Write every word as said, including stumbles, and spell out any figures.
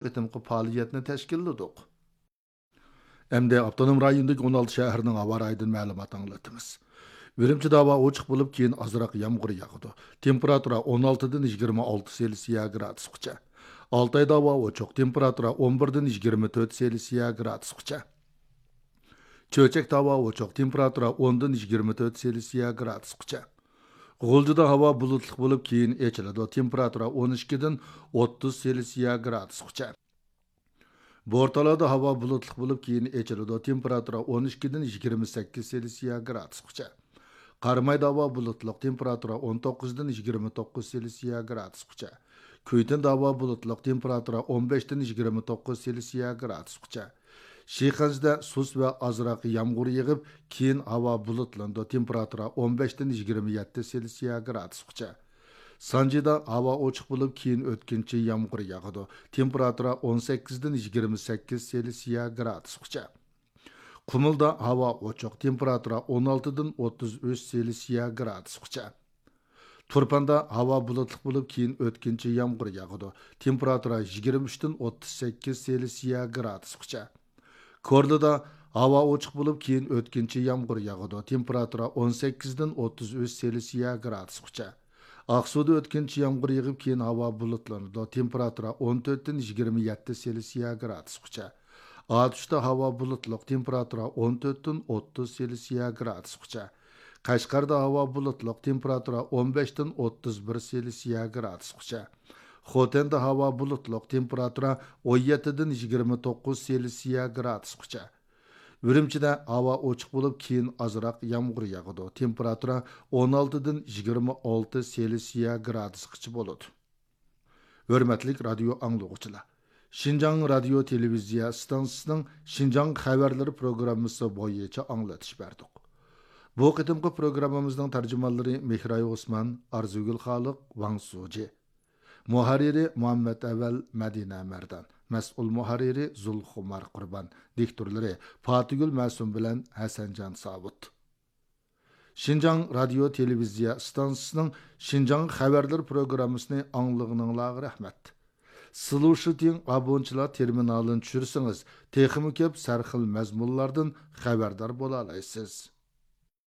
قېتىمقى پائالىيەتنى تەشكىللىدۇق. ئەمدى ئاپتونوم رايوندىكى ئون ئالتە شەھەرنىڭ ھاۋا رايىدىن مەلۇمات ئاڭلىتىمىز. ئۈرۈمچىدە ھاۋا ئوچۇق بولۇپ، كېيىن ئازراق يامغۇر ياغىدۇ. تېمپېراتۇرا ئون ئالتىدىن يىگىرمە ئالتە سېلسىيە گرادۇسقىچە. ئالتايدا ھاۋا ئوچۇق، تېمپېراتۇرا ئون بىردىن يىگىرمە تۆت سېلسىيە گرادۇسقىچە. چۆچەكتە ھاۋا ئوچۇق، تېمپېراتۇرا ئوندىن يىگىرمە تۆت سېلسىيە گرادۇسقىچە. غۇلجىدا ھاۋا بۇلۇتلۇق بولۇپ، كېيىن ئېچىلىدۇ، تېمپېراتۇرا ئون ئىككىدىن ئوتتۇز سېلسىيە گرادۇسقىچە. بورتالادا ھاۋا بۇلۇتلۇق بولۇپ، كېيىن ئېچىلىدۇ، تېمپېراتۇرا ئون ئىككىدىن يىگىرمە سەككىز سېلسىيە گرادۇسقىچە. قارامايدا ھاۋا بۇلۇتلۇق، تېمپېراتۇرا ئون توققۇزدىن يىگىرمە توققۇز سېلسىيە گرادۇسقىچە. كۈيتىندە ھاۋا بۇلۇتلۇق، تېمپېراتۇرا ئون بەشتىن يىگىرمە توققۇز سېلسىيە گرادۇسقىچە. شىخەنزىدە سۇس ۋە ئازراق يامغۇر يېغىپ، كېيىن ھاۋا بۇلۇتلىنىدۇ، تېمپېراتۇرا ئون بەشتىن يىگىرمە يەتتە سېلسىيە گرادۇسقىچە. سانجىدا ھاۋا ئوچۇق بولۇپ، كېيىن ئۆتكۈنچى يامغۇر ياغىدۇ، تېمپېراتۇرا ئون سەككىزدىن يىگىرمە سەككىز سېلسىيە گرادۇسقىچە. قۇمۇلدا ھاۋا ئوچۇق، تېمپېراتۇرا ئون ئالتىدىن ئوتتۇز ئۈچ سېلسىيە گرادۇسقىچە. تۇرپاندا ھاۋا بۇلۇتلۇق بولۇپ، كېيىن ئۆتكۈنچى يامغۇر ياغىدۇ، تېمپېراتۇرا يىگىرمە ئۈچتىن ئوتتۇز سەككىز سېلسىيە گرادۇسقىچە. كورلىدا ھاۋا ئوچۇق بولۇپ، كېيىن ئۆتكۈنچى يامغۇر ياغىدۇ، تېمپېراتۇرا ئون سەككىزدىن ئوتتۇز ئۈچ سېلسىيە گرادۇسقىچە. ئاقسۇدا ئۆتكۈنچى يامغۇر يېغىپ، كېيىن ھاۋا بۇلۇتلىنىدۇ، تېمپېراتۇرا ئون تۆتتىن يىگىرمە يەتتە سېلسىيە گرادۇسقىچە. ئاتۇشتا ھاۋا بۇلۇتلۇق، تېمپېراتۇرا ئون تۆتتىن ئوتتۇز سېلسىيە گرادۇسقىچە. قەشقەردە ھاۋا بۇلۇتلۇق، تېمپېراتۇرا ئون بەشتىن ئوتتۇز بىر سېلسىيە گرادۇسقىچە. خوتەندە ھاۋا بۇلۇتلۇق، تېمپېراتۇرا ئون يەتتىدىن يىگىرمە توققۇز سېلسىيە گرادۇسقىچە. ئۈرۈمچىدە ھاۋا ئوچۇق بولۇپ، كېيىن ئازراق يامغۇر ياغىدۇ، تېمپېراتۇرا ئون ئالتىدىن يىگىرمە ئالتە سېلسىيە گرادۇسقىچە بولىدۇ. ھۆرمەتلىك رادىيو ئاڭلىغۇچىلار! شىنجاڭ رادىيو تېلېۋىزىيە ئىستانسىسىنىڭ شىنجاڭ خەۋەرلىرى پروگراممىسى بويىچە ئاڭلىتىش بەردۇق. بۇ قېتىمقى پروگراممىمىزنىڭ تەرجىمانلىرى مېھراي ئوسمان، ئارزۇگۈل خالىق، ۋاڭ سۇجى. مۇھەررىرى مۇھەممەت ئەۋەل، مەدىنە مەردان. مەسئۇل مۇھەررىرى زۇلخۇمار قۇربان. دىكتورلىرى پاتىگۈل مەسۇم بىلەن ھەسەنجان ساۋۇت. شىنجاڭ رادىيو تېلېۋىزىيە ئىستانسىسىنىڭ شىنجاڭ خەۋەرلىرى پروگراممىسىنى ئاڭلىغىنىڭلارغا رەھمەت. سىلۇشىتىڭ ئابونچىلار تېرمىنالىنى چۈشۈرسىڭىز، تېخىمۇ كۆپ سەرخىل مەزمۇنلاردىن خەۋەردار بولالايسىز.